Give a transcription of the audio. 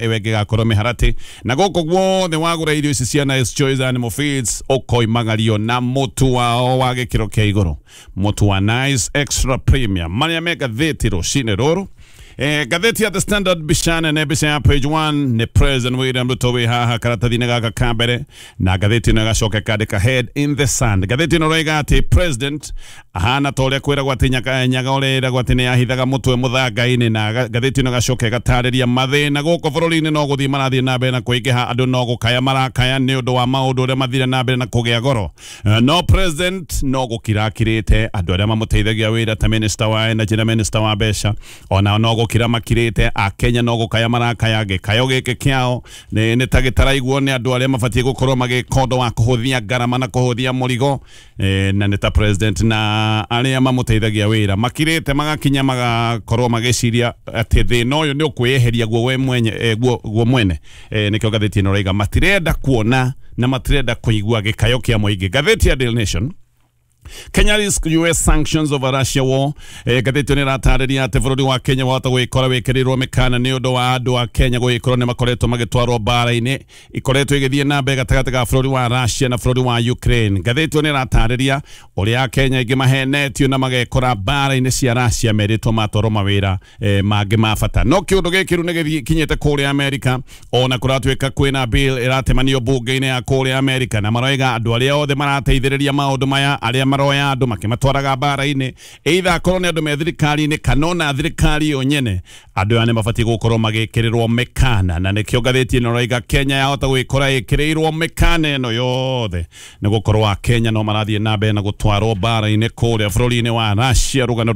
Ĩyo ĩngĩ ĩgakorwo mĩharatĩ na gũkũ guothe wagũra irio ici cia Nice Choice Animal Feeds ũkoimagario na mũtu wao wa gĩkĩro kĩa igũrũ, mũtu wa Nice Extra Premium. Marĩa me ngathĩti rũcinĩ rũrũ, ngathĩti ya The Standard, mbica nene, mbica ya page 1 nĩ President William Ruto wĩ haha karatathi-inĩ gaka ka mbere, na ngathĩti ĩno ĩgacoka ĩkandĩka "Head in the sand". Ngathĩti ĩno ĩroiga atĩ president ahana ta ũrĩa kwĩragwo atĩ nyaga nyaga ũrĩa ĩragwo atĩ nĩ yahithaga mũtwe mũthanga-inĩ. Na ngathĩti ĩno ĩgacoka ĩgatarĩria mathĩna gũkũ bũrũri-inĩ no gũthiĩ marathiĩ na mbere na kũingĩha, andũ no gũkaya marakaya nĩ ũndũ wa maũndũ ũrĩa mathire na mbere na kũgĩa goro. No president no gũkira akirĩte, andũ arĩa mamũteithagia wĩra ta minister wa energy na minister wa mbeca ona no gũkira makirĩte, akenya no gũkaya marakaya. Gĩkayo gĩkĩ kĩao nĩ ta gĩtaraiguo nĩ andũ arĩa mabatiĩ gũkorwo magĩka ũndũ wa kũhũthia ngarama na kũhũthia mũrigo. Na nĩ ta president na arĩa mamũteithagia wĩra makirĩte, magakinya magakorwo magĩciria atĩ thĩna ũyũ nĩ ũkwĩyeheria guo we mwenye, guo mwene. Nĩkĩo ngathĩti ĩno ĩrauga matirenda kuona na matirenda kũigua gĩkayo kĩa mũingĩ. Ngathĩti ya Daily Nation, "Kenya risk US sanctions over Russia war". Ngathĩti ĩno ĩratarĩria atĩ bũrũri wa Kenya wahota gwĩkora wĩkĩrĩirwo mĩkana nĩ ũndũ wa andũ a Kenya gũgĩkorwo nĩ makoretwo magĩtwarwo mbara-inĩ ikoretwo ĩgĩthiĩ na mbere gatagatĩ ga bũrũri wa Russia na bũrũri wa Ukraine. Ngathĩti ĩno ĩratarĩria ũrĩa Akenya aingĩ mahenetio na magekora mbara-inĩ cia Russia merĩtwo matwarwo mawĩra mangĩ ma bata. No kĩũndũ gĩkĩ rĩu nĩ gĩkinyĩte kũrĩa Amerika, ona kũratuĩka kwĩna bill ĩratemanio mbunge-inĩ ya kũrĩa Amerika, na maroiga andũ arĩa othe marateithĩrĩria maũndũ maya, arĩa maroya andũ makĩmatwaraga mbara-inĩ, either akorwo nĩ andũ me thirikari-inĩ kana ona thirikari yo nyene, andũ aya nĩ mabatiĩ gũkorwo magĩkĩrĩrwo mĩkana. Na nĩkĩo ngathĩti ĩno ĩroiga Kenya yahota gwĩkora ĩkĩrĩirwo mĩkana ĩno yothe nĩ gũkorwo Akenya no marathiĩ na mbere na gũtwarwo mbara-inĩ kũrĩa bũrũri-inĩ wa Russia. Rũgano.